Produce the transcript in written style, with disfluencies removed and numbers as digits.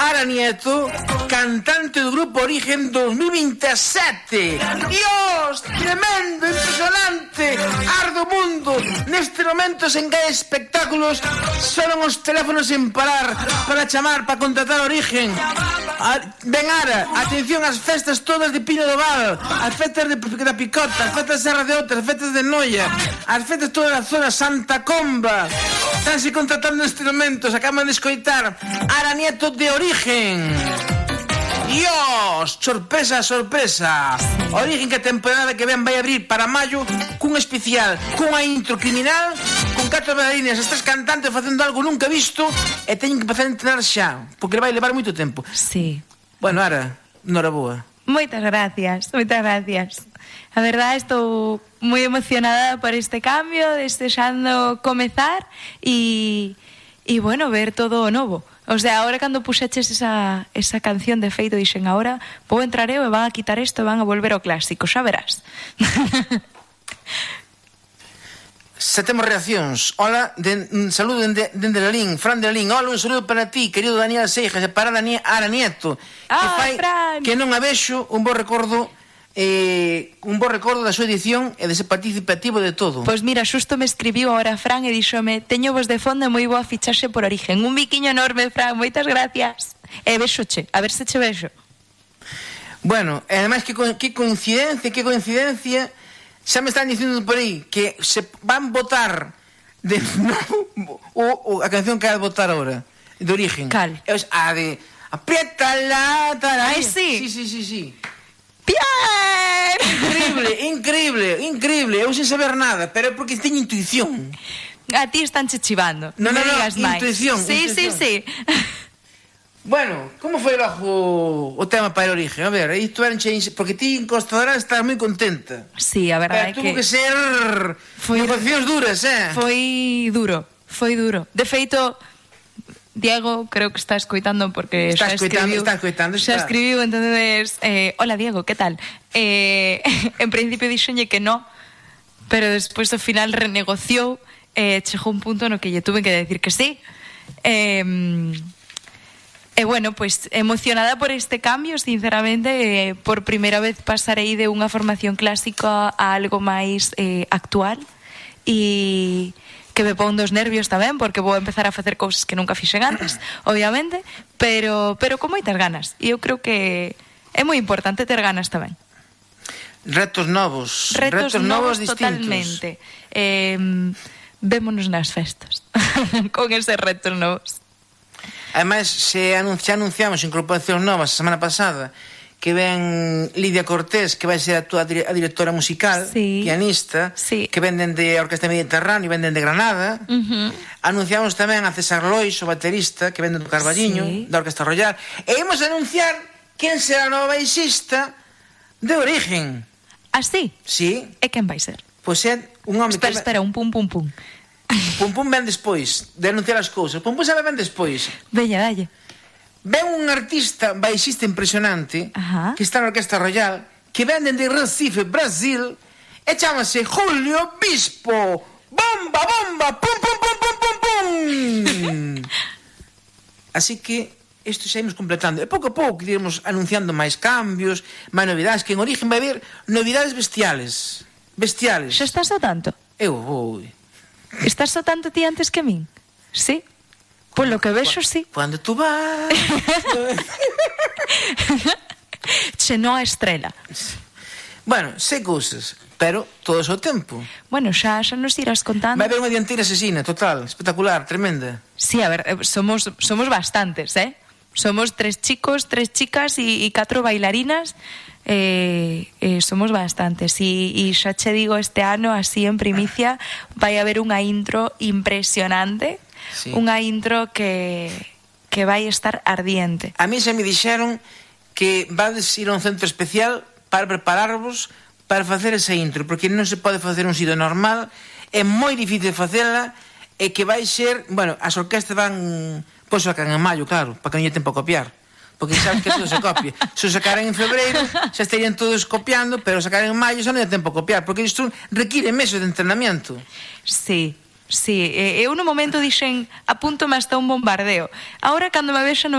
Ara Nieto, cantante do grupo Origen 2027. Dios, tremendo, impresionante, ardo mundo. Neste momento sen que hai espectáculos, sonan os teléfonos sen parar para chamar, para contratar Origen. Ben Ara, atención ás festas todas de Pino do Val, as festas da Picota, as festas de Serra de Outra, as festas de Noia, as festas toda a zona Santa Comba. Estánse contratando neste momento, se acaban de escoitar Ara Nieto de Origen. Dios, sorpresa, sorpresa. Origen que a temporada que ven vai abrir para maio cun especial, cunha intro criminal, con 4 bailarinas, estas cantantes facendo algo nunca visto e teñen que empezar a entrenar xa, porque vai levar moito tempo. Sí. Bueno, Ara, noraboa. Moitas gracias, moitas gracias. A verdade, estou moi emocionada por este cambio, desexando comezar e bueno, ver todo o novo. O sea, ahora cando puxeches esa canción de feito, dixen, ahora vou entrar eu e van a quitar isto e van a volver ao clásico, xa verás. Se temos reaccións. Hola, saludo dende Lalín, Fran de Lalín. Hola, un saludo para ti, querido Daniel Seijas, e para Ara Nieto, que fai Fran, que non a vexo, un bo recordo da súa edición e de ser participativo de todo. Pois mira, xusto me escribiu ahora Fran e díxome, teño vos de fondo moi boa fichaxe por Origen. Un biquiño enorme, Fran, moitas gracias. E bexoche, a ver se che vexo. Bueno, e ademais que coincidencia, xa me están dicindo por aí que se van votar de novo a canción que vai votar ahora, de Origen. Cal? A de apriétala, Ai, sí. Sí. Bien! Increíble. Eu sen saber nada, pero é porque teño intuición. A ti están che chivando. No, digas máis. intuición. Sí. Bueno, como foi logo o tema para Origen? A ver, isto era porque ti en Costa Dorada estás moi contenta. Sí, a verdade é que... Tuvo que ser negociacións duras, Foi duro. De feito, Diego, creo que está escoitando porque está escoitando. Xa escribiu, entonces hola Diego, que tal? En principio dixenlle que no, pero despois ao final renegociou, chegou un punto no que lle tuve que decir que sí. Bueno, pues emocionada por este cambio, sinceramente, por primeira vez pasarei de unha formación clásica a algo máis actual e que me pon dos nervios tamén, porque vou empezar a facer cousas que nunca fixen antes, obviamente, pero con moitas ganas. E eu creo que é moi importante ter ganas tamén. Retos novos distintos. Totalmente. Vémonos nas festas con eses retos novos. Ademais, xa anunciamos incorporacións novas a semana pasada, que ven Lidia Cortés, que vai ser a directora musical, pianista, que ven dende a Orquesta Mediterráneo e ven dende Granada. Anunciamos tamén a César Lois, o baterista, que ven do Carballiño, da Orquesta Royal. E imos anunciar quen será a nova baixista de Origen. Ah, sí? Sí. E quen vai ser? Pois é un home que... Espera, un pum. Pum ven despois de anunciar as cousas. Pum sabe ben despois. Veña, dalle. Ven un artista baixista impresionante que está na Orquesta Royal, que ven dende Recife, Brasil, e chámase Julio Bispo. Bomba, pum. Así que isto xa imos completando. E pouco a pouco iremos anunciando máis cambios, máis novidades, que en Origen vai haber novidades bestiales. Xa estás ao tanto? Eu vou. Estás ao tanto ti antes que min? Sí? Por lo que vexo, sí. Cuando tú vas... Che non a estrela. Bueno, sei cousas, pero todo o seu tempo. Bueno, xa nos irás contando. Vai haber unha dianteira asesina, total, espectacular, tremenda. Sí, a ver, somos bastantes, Somos 3 chicos, 3 chicas e 4 bailarinas. Somos bastantes e xa che digo, este ano, así en primicia, vai haber unha intro impresionante. Sí. Unha intro que vai estar ardiente. A mí se me dixeron que vades ir a un centro especial para prepararvos para facer esa intro, porque non se pode facer un sitio normal, é moi difícil facela, e que vai ser, bueno, as orquestas van, pois sacan en maio, claro, para que non lle tempo a copiar, porque sabes que todo se copia. Se o sacaran en febreiro, xa estarían todos copiando, pero sacaran en maio xa non lle tempo a copiar, porque isto require meses de entrenamiento. Sí. Eu no momento dixen, apúntome hasta un bombardeo. Ahora, cando me vexa, non